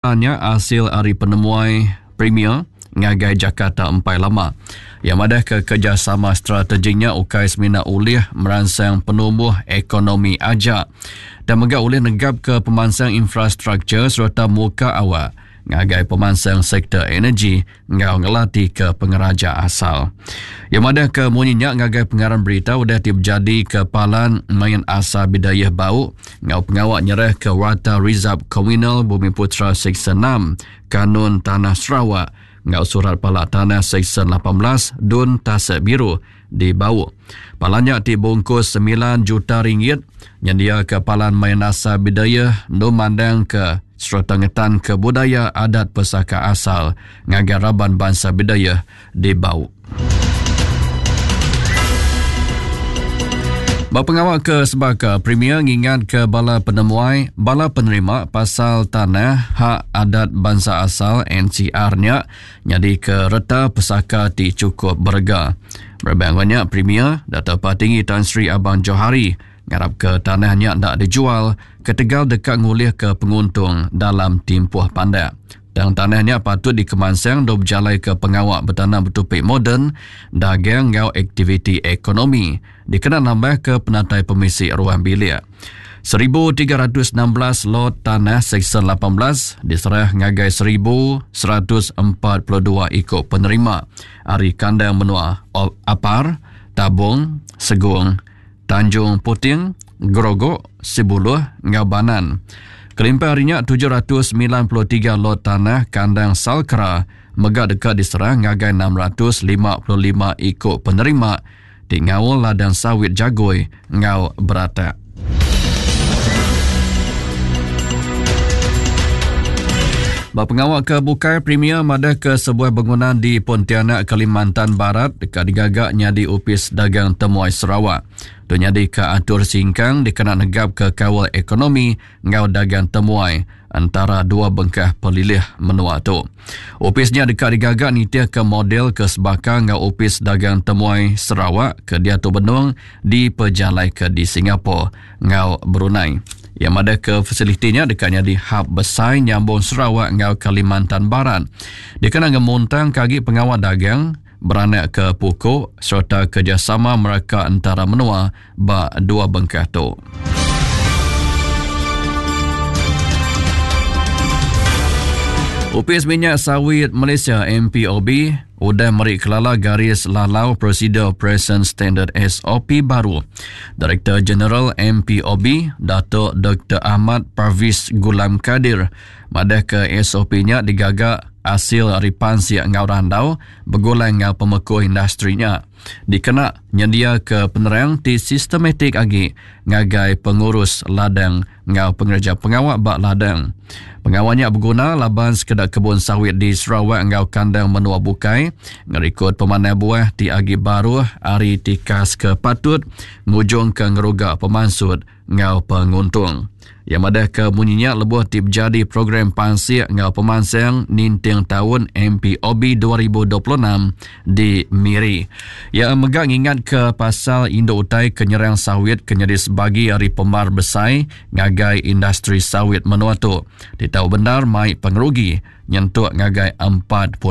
Nya asil ari penemuai Premier ngagai Jakarta empai lama. Iya madahka kerejasama strategik nya ukai semina ulih meransang penumbuh ekonomi aja tang mega ulih negapka pemansang infrastruktur sereta muka awak ngagai pemansang sektor energi enggau ngelatika pengeraja asal. Iya madahka munyi nya ngagai pengarang berita udah ti bejadika Palan Main Asal Bidayuh Bau enggau pengawa nyerahka Warta Rizab Komunal Bumiputera Seksyen 6 Kanun Tanah Sarawak enggau Surat Pala Tanah Seksyen 18 Dun Tasik Biru di Bau. Palan nya ti bungkus semilan juta ringgit nyendiaka palan main asal Bidayuh endur mandangka sereta ngetanka budaya adat pesaka asal ngagai raban bansa Bidayuh di Bau. Ba pengawa ke sebaka, Premier ngingatka bala penemuai, bala penerima pasal tanah hak adat bansa asal NCR nya nyadika reta pesaka ti chukup berega. Berebak enggau nya, Premier Datuk Patinggi Tan Sri Abang Johari ngarapka tanah nya enda dijual ketegal deka ngulihka penguntung dalam timpuh pandak. Tang tanah nya patut dikemansang endur bejalaika pengawa betanam betupi moden, dagang enggau aktiviti ekonomi dikena nambahka penatai pemisi ruang bilik. 1316 lot tanah Seksyen 18 diserah ngagai 1142 iku penerima ari kandang menua Apar, Tabong, Segong, Tanjung Puting, Gerogok, Sibuluh enggau Banan. Kelimpah ari nya, 793 lot tanah kandang Salcra mega deka diserah ngagai 655 iku penerima ti ngaul ladang sawit Jagoi enggau Beratak. Ba pengawa ke bukai, Premier madahka sebuah bangunan di Pontianak, Kalimantan Barat deka digaga nyadi Opis Dagang Temuai Sarawak. Tu nyadika atur singkang dikena negapka kaul ekonomi enggau dagang temuai entara dua bengkah pelilih menua tu. Opis nya deka digaga nitihka model ke sebaka enggau Opis Dagang Temuai Sarawak ke diatu benung dipejalaika di Singapore enggau Brunei. Iya madahka fasiliti nya deka nyadi hub besai nyambung Sarawak enggau Kalimantan Barat dikena ngemuntangka agi pengawa dagang, beranakka puku sereta kerejasama meraka entara menua ba dua bengkah tu. Opis Minyak Sawit Malaysia MPOB udah meri kelala garis lalau Prosedur Operation Standard SOP baru. Direktor Jeneral MPOB Datuk Dr. Ahmad Parviz Gulam Kadir madahka SOP nya digaga asil ari pansik enggau randau begulai enggau pemekuh industri nya dikena nyendiaka penerang ti sistematik agi ngagai pengurus ladang enggau pengereja pengawa ba ladang. Pengawa nya beguna laban sekeda kebun sawit di Sarawak enggau kandang menua bukai ngerikod pemanah buah ti agi baruh ari tikas ke patut ngujungka ngeruga pemansut enggau penguntung. Iya madahka munyi nya lebuh ti bejadi Program Pansik enggau Pemansang Ninting Taun MPOB 2026 di Miri. Iya mega ngingatka pasal indu utai ke nyerang sawit ke nyadi sebagi ari pemar besai ngagai industri sawit menua tu ti tau bendar mai pengerugi nyentuk ngagai 40%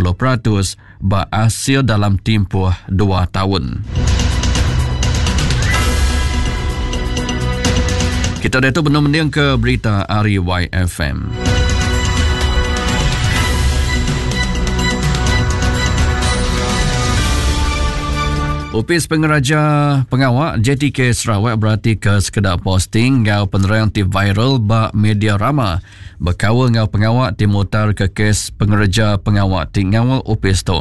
ba asil dalam timpuh dua taun. Kita diatu benung mendingka berita ari YFM. Opis Pengeraja Pengawa JTK Sarawak beratika sekeda posting enggau penerang ti viral ba media rama bekaul enggau pengawa ti mutarka kes pengereja pengawa ti ngaul opis tu.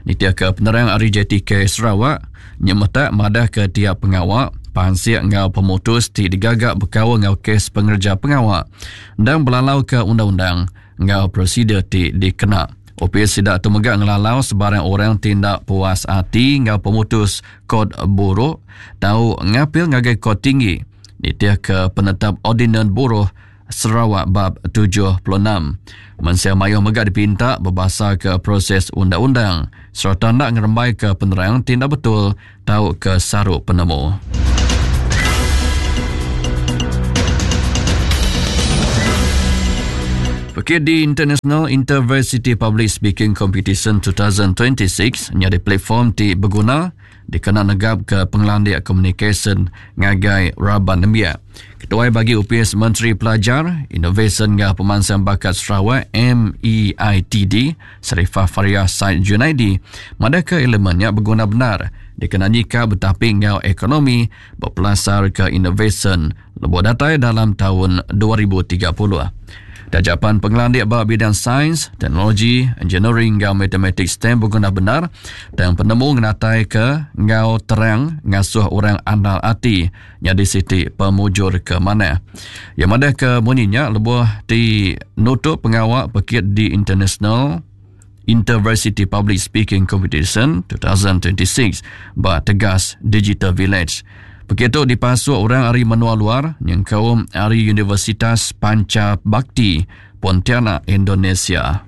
Nitihka penerang ari JTK Sarawak, nyemetak madahka tiap pengawa, pansik enggau pemutus ti digaga bekaul enggau kes pengereja pengawa endang belalauka undang-undang enggau prosedur ti dikena. Opis sida tu mega ngelalau sebarang orang ti enda puas ati enggau pemutus Kort Buruh tau ngapil ngagai Kort Tinggi nitihka penetap Ordinan Buruh Sarawak bab 76. Mensia mayuh mega dipinta bebasaka proses undang-undang sereta enda ngerembaika penerang ti enda betul tauka saru penemu. Pekit di International Intervarsity Public Speaking Competition 2026 nyadi platform ti beguna dikena negapka pengelandik komunikasyen ngagai raban nembiak. Ketuai Bagi Opis Menteri Pelajar, Inovasyen enggau Pemansang Bakat Sarawak, MEITD, Sharifah Fariah Said Junaidi madahka elemen nya beguna bendar dikena nyikap betapi enggau ekonomi bepelasarka inovasyen lebuh datai dalam taun 2030. Taja pan pengelandik ba bidang sains, teknologi, engineering enggau matematik STEM beguna bendar, tang penemu ngenataika enggau terang ngasuh orang andal ati nyadi siti pemujur ke manah. Iya madahka munyi nya lebuh ti nutup pengawa pekit di International Intervarsity Public Speaking Competition 2026 ba Tegas Digital Village. Pekit tu dipasuk orang ari menua luar nyengkaum ari Universitas Panca Bakti, Pontianak, Indonesia.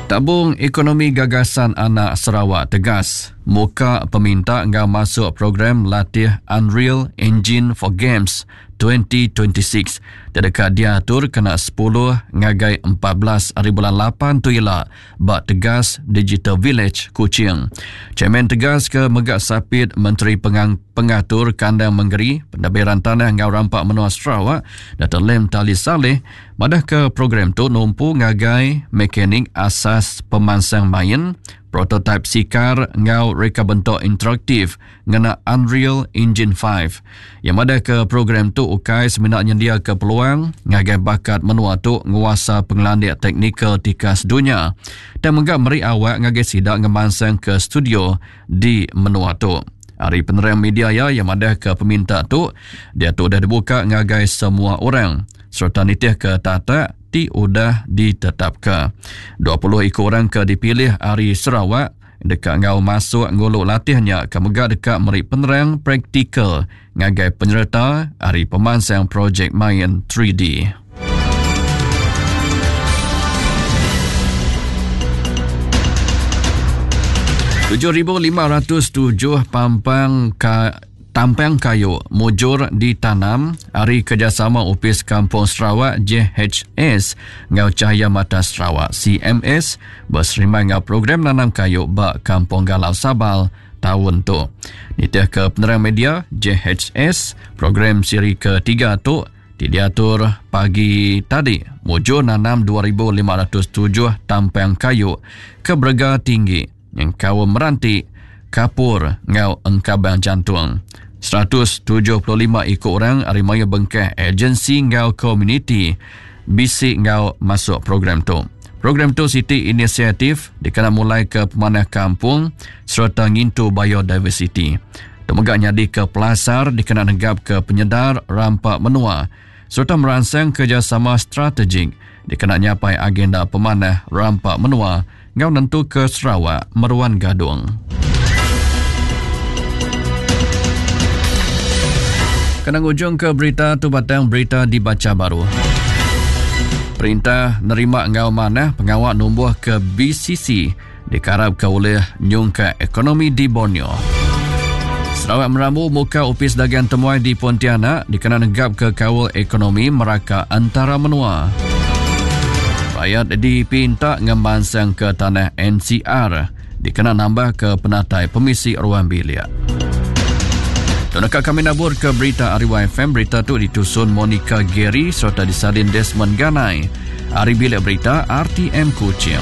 Tabung Ekonomi Gagasan Anak Sarawak tegas muka peminta enggau masuk program latih Unreal Engine for Games 2026 ti deka diatur kena sepuluh ngagai 14 hari bulan lapan tu ila ba Tegas Digital Village, Kuching. Chairman Tegas ke mega sapit Menteri Pengang Pengatur Kandang Mengeri, Pentadbiran Tanah enggau Rampa Menua Sarawak, Dato Lim Tali Salleh madahka program tu numpu ngagai mekanik asas pemansang main, prototaip sikar enggau reka bentuk interaktif ngena Unreal Engine 5. Iya madahka program tu ukai semina nyendiaka peluang ngagai bakat menua tu nguasa pengelandik teknikal tikas dunya tang mega meri awak ngagai sida ngemansangka studio di menua tu. Ari penerang media iya, iya madahka peminta tu diatu udah dibuka ngagai semua orang sereta nitihka tatak ti udah ditetapka. 20 iku orang ke dipilih ari Sarawak deka enggau masuk ngulu latih nya ke mega deka meri penerang praktikal ngagai penyereta ari pemansang projek main 3D. 7507 pampang ka Tampang kayu mujur ditanam ari kerjasama Opis Kampung Sarawak JHS enggau Cahaya Mata Sarawak CMS beserimbai enggau program nanam kayu ba Kampung Galau Sabal taun tu. Nitihka penerang media JHS, program siri ketiga tu ti diatur pagi tadi mujur nanam 2507 tampang kayu ke berega tinggi nyengkaum meranti, kapur enggau engkabang jantung. 175 iku orang ari mayuh bengkah agensi enggau komuniti bisi enggau masuk program tu. Program tu siti inisiatif dikena mulaika pemanah kampung sereta ngintu biodiversiti. Tu mega nyadika pelasar dikena negapka penyedar rampa menua sereta meransang kerejasama strategik dikena nyapai agenda pemanah rampa menua enggau nentuka Sarawak meruan gadung. Kena ngujungka berita tu batang berita dibacha baru. Perintah nerima enggau manah pengawa numbuhka BCC dikarapka ulih nyungkak ekonomi di Borneo. Sarawak merambu muka opis dagang temuai di Pontianak dikena negapka kaul ekonomi meraka antara menua. Rakyat dipinta ngemansangka tanah NCR dikena nambahka penatai pemisi ruang bilik. Tu neka kami nabur ke berita ari YFM. Berita tu ditusun Monica Gary sereta disalin Desmond Ganai. Ari bilik berita RTM Kuching.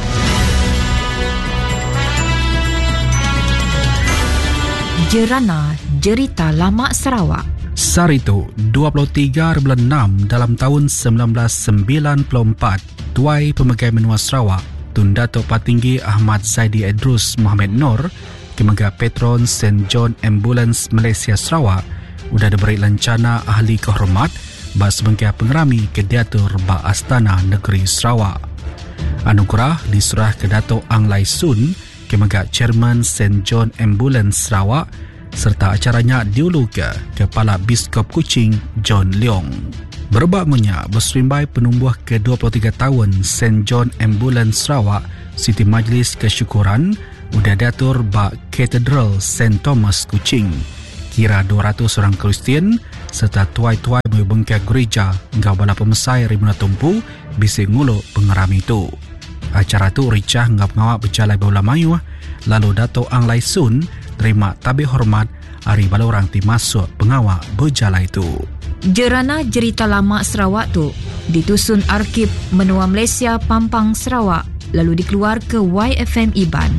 Jerana Jerita Lama Sarawak. Sehari tu, 23 bulan 6 dalam taun 1994, Tuai Pemegai Menua Sarawak, Tun Datuk Patinggi Ahmad Zaidi Edrus Mohamed Noor, ke mega Patron Saint John Ambulance Malaysia Sarawak, udah diberi lencana Ahli Kehormat ba sebengkah pengerami ke diatur ba Astana Negeri Sarawak. Anugerah diserahka Datuk Ang Lai Soon ke mega Chairman Saint John Ambulance Sarawak sereta acara nya diuluka Kepala Biskop Kuching John Leong. Berebak enggau nya, beserimbai penumbuh ke 23 taun Saint John Ambulance Sarawak, siti majlis kesyukuran udah diatur ba Katedral Saint Thomas Kuching. Kira 200 orang Kristian sereta tuai-tuai mayuh bengkah gerija enggau bala pemesai ari menua tu empu bisi ngulu pengerami tu. Acara tu richah enggau pengawa bejalai bebala mayuh lalu Dato Ang Lai Soon nerima tabi hormat ari bala orang ti masuk pengawa bejalai tu. Jerana Jerita Lama Sarawak tu ditusun Arkib Menua Malaysia Pampang Sarawak lalu dikeluarka YFM Iban.